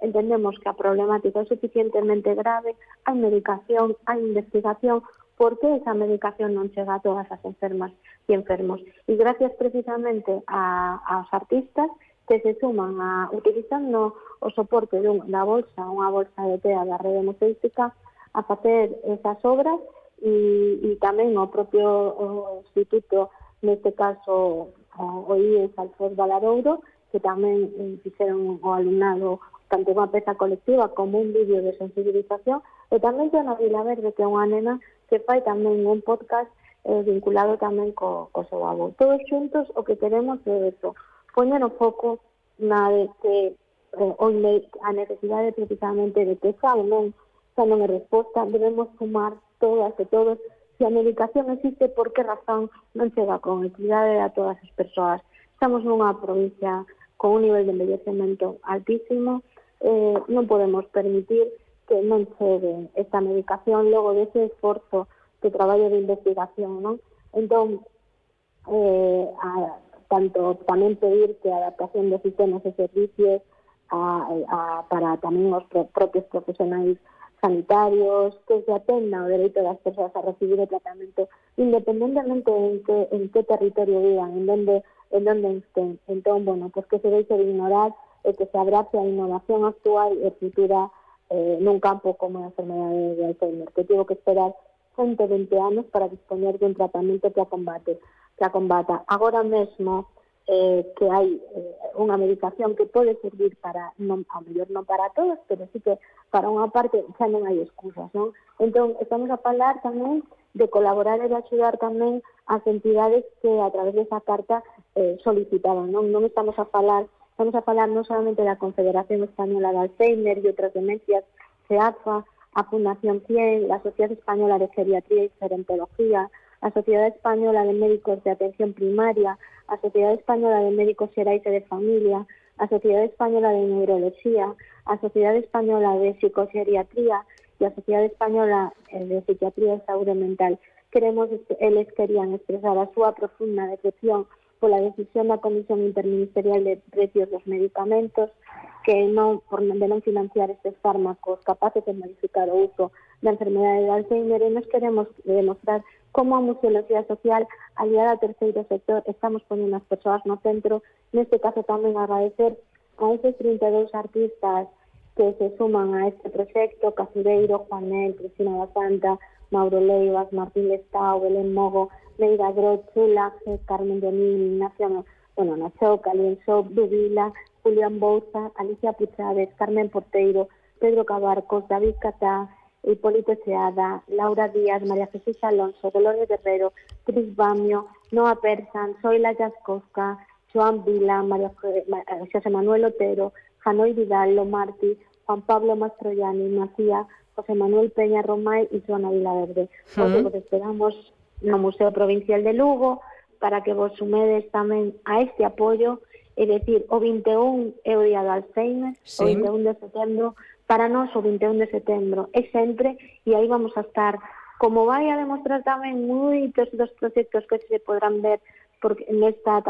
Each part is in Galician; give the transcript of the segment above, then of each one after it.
entendemos que a problemática é suficientemente grave, hai medicación, hai investigación, por que esa medicación non chega a todas as enfermas e enfermos. E gracias precisamente aos artistas que se suman a utilizando o soporte da bolsa, unha bolsa de TEA da Rede Museística, a facer esas obras e tamén o propio instituto, neste caso o IES Alfred Valadouro, que tamén fixeron o alumnado tanto unha peza colectiva como un vídeo de sensibilización, e tamén Joana Vilaverde, que é unha nena que fai tamén un podcast vinculado tamén co seu avó. Todos xuntos o que queremos é eso, poñer o foco na de que a necesidade precisamente de que xa non é resposta, debemos sumar todas e todos. Se a medicación existe, por que razón non chega con equidade a todas as persoas? Estamos nunha provincia con un nivel de envellecemento altísimo, non podemos permitir que non chegue esta medicación logo dese esforzo de traballo de investigación, non? Entón, tanto tamén pedir que a adaptación de sistemas e servicios para tamén os propios profesionais sanitarios, que se atenda o dereito das persoas a recibir o tratamento independentemente en que territorio vivan, en donde estén. Entón, pues que se deixe de ignorar e que se abrace a innovación actual e futura nun campo como a enfermedade de Alzheimer, que tivo que esperar 120 anos para dispoñer de un tratamento que a combata. Agora mesmo que hai unha medicación que pode servir para, a mellor non para todos, pero sí que para unha parte xa non hai excusas, non? Entón, estamos a falar tamén de colaborar e de axudar tamén as entidades que a través desa carta solicitaban, non? Non estamos a falar non solamente da Confederación Española de Alzheimer e outras demencias, CEAFA, a Fundación 100, la Sociedad Española de Geriatría y Gerontología, a Sociedade Española de Médicos de Atención Primaria, a Sociedade Española de Médicos Xerais e de Familia, a Sociedade Española de Neuroloxía, a Sociedade Española de Psicogeriatría e a Sociedade Española de Psiquiatría e Saúde Mental. Eles querían expresar a súa profunda decepción pola decisión da Comisión Interministerial de Precios dos Medicamentos de non financiar estes fármacos capaces de modificar o uso da enfermedade de Alzheimer, e nos queremos demostrar como a museoloxía social aliada ao terceiro sector estamos ponendo as persoas no centro. Neste caso tamén agradecer a esos 32 artistas que se suman a este proxecto: Casureiro, Juanel, Cristina da Santa, Mauro Leivas, Martín Lestao, Belén Mogo, Meira Groch, Chula, Carmen Dionín, Ignacio Nachoca, Lienso, Dubila, Julián Bouza, Alicia Puchades, Carmen Porteiro, Pedro Cabarcos, David Catá, Hipólito Seada, Laura Díaz, María Jesús Alonso, Dolores Guerrero, Cris Bamio, Noa Persan, Zoila Jaskowska, Joan Vila, José Manuel Otero, Janoi Vidal, Lomarti, Juan Pablo Mastroianni, Macía, José Manuel Peña Romay e Joana Vilaverde. Hoxe vos esperamos no Museo Provincial de Lugo para que vos sumedes tamén a este apoio. É dicir, o 21 é o día do Alzheimer, o 21 de setembro, para nós o 21 de setembro é sempre, e aí vamos a estar, como vai a demostrar tamén moitos dos proxectos que se podrán ver nesta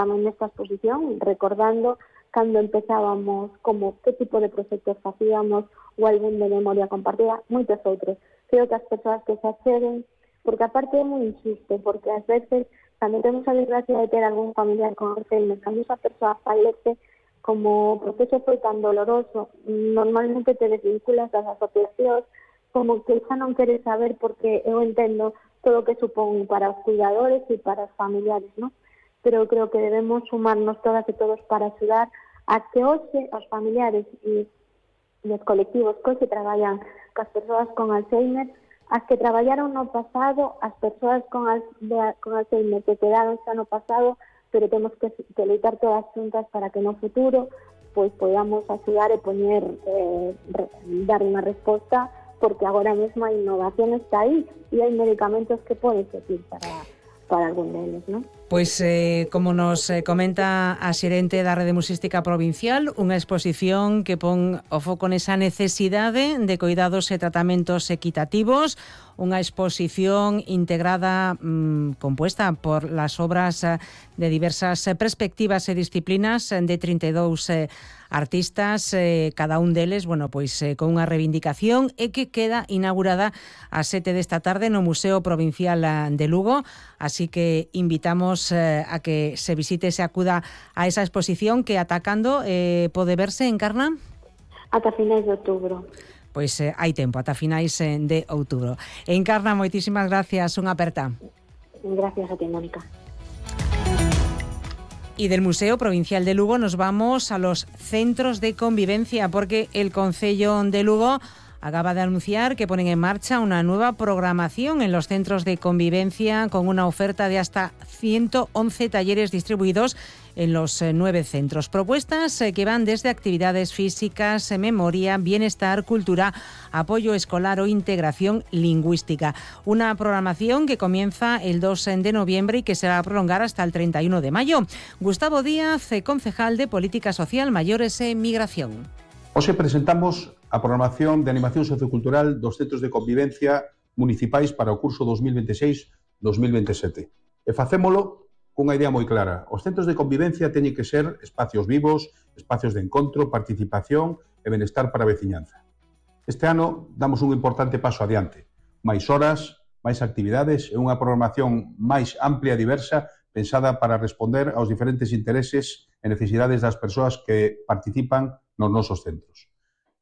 exposición, recordando cando empezábamos, como que tipo de proxectos facíamos, o álbum de memoria compartida, moitos outros. Creo que as persoas que se acceden, porque aparte é moi injusto, porque ás veces tamén temos a desgracia de ter algún familiar con Alzheimer, cando esa persoa falece, como o proceso foi tan doloroso, normalmente te desvinculas das asociacións, como que xa non queres saber, porque eu entendo todo o que supón para os cuidadores e para os familiares, non? Pero creo que debemos sumarnos todas e todos para axudar a que hoxe os familiares e os colectivos que hoxe traballan cas persoas con Alzheimer, as que traballaron no pasado, as persoas con Alzheimer que quedaron xa no pasado, pero temos que loitar todas xuntas para que no futuro pois podamos axudar e poñer, dar unha resposta, porque agora mesmo a innovación está aí e hai medicamentos que poden servir para algún deles, non? Pois, como nos comenta a xerente da Rede Museística Provincial, unha exposición que pon o foco nesa necesidade de cuidados e tratamentos equitativos, unha exposición integrada, compuesta por las obras de diversas perspectivas e disciplinas de 32 artistas, cada un deles, bueno, pois con unha reivindicación, e que queda inaugurada a 7 desta tarde no Museo Provincial de Lugo, así que invitamos a que se visite, se acuda a esa exposición que ata cando pode verse, Encarna? Ata finais de outubro. Pois hai tempo, ata finais de outubro. Encarna, moitísimas gracias, unha aperta. Gracias a ti, Mónica. Y del Museo Provincial de Lugo nos vamos a los centros de convivencia, porque el Concello de Lugo acaba de anunciar que ponen en marcha una nueva programación en los centros de convivencia con una oferta de hasta 111 talleres distribuidos en los 9 centros. Propuestas que van desde actividades físicas, memoria, bienestar, cultura, apoyo escolar o integración lingüística. Una programación que comienza el 2 de noviembre y que se va a prolongar hasta el 31 de mayo. Gustavo Díaz, concejal de Política Social, Mayores e Migración. Hoxe presentamos a programación de animación sociocultural dos centros de convivencia municipais para o curso 2026-2027. E facémolo cunha idea moi clara. Os centros de convivencia teñen que ser espacios vivos, espacios de encontro, participación e benestar para a veciñanza. Este ano damos un importante paso adiante. Máis horas, máis actividades e unha programación máis amplia e diversa pensada para responder aos diferentes intereses e necesidades das persoas que participan nos nosos centros.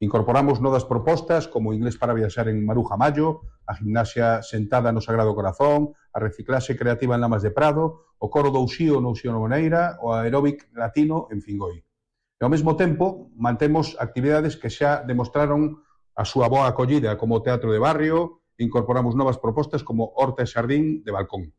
Incorporamos novas propostas como o inglés para viaxar en Maruja Mayo, a gimnasia sentada no Sagrado Corazón, a reciclaxe creativa en Lamas de Prado, o coro do Uxío no Uxío Nogueira, o aeróbic latino en Fingoi. E ao mesmo tempo, mantemos actividades que xa demostraron a súa boa acollida, como o teatro de barrio, e incorporamos novas propostas como horta e xardín de balcón.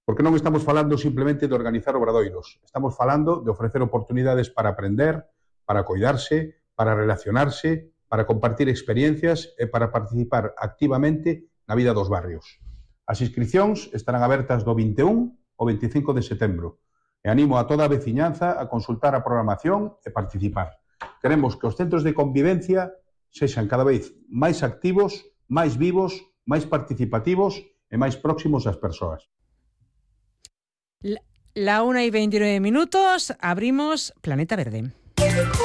Porque non estamos falando simplemente de organizar obradoiros, estamos falando de ofrecer oportunidades para aprender, para coidarse, para relacionarse, para compartir experiencias e para participar activamente na vida dos barrios. As inscricións estarán abertas do 21 ao 25 de setembro e animo a toda a veciñanza a consultar a programación e participar. Queremos que os centros de convivencia sexan cada vez máis activos, máis vivos, máis participativos e máis próximos ás persoas. La 1:29, abrimos Planeta Verde.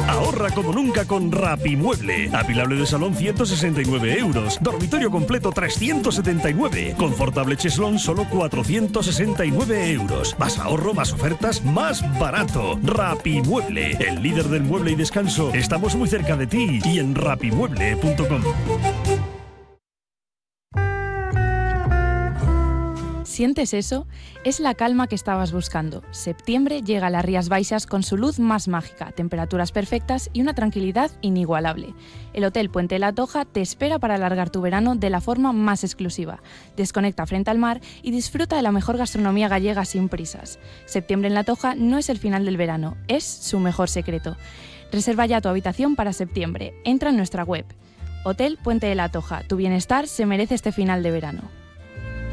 Ahorra como nunca con Rapimueble. Apilable de salón 169 euros. Dormitorio completo 379. Confortable cheslón solo 469 euros. Más ahorro, más ofertas, más barato. Rapimueble, el líder del mueble y descanso. Estamos muy cerca de ti y en rapimueble.com. ¿Sientes eso? Es la calma que estabas buscando. Septiembre llega a las Rías Baixas con su luz más mágica, temperaturas perfectas y una tranquilidad inigualable. El Hotel Puente de la Toja te espera para alargar tu verano de la forma más exclusiva. Desconecta frente al mar y disfruta de la mejor gastronomía gallega sin prisas. Septiembre en la Toja no es el final del verano, es su mejor secreto. Reserva ya tu habitación para septiembre. Entra en nuestra web. Hotel Puente de la Toja. Tu bienestar se merece este final de verano.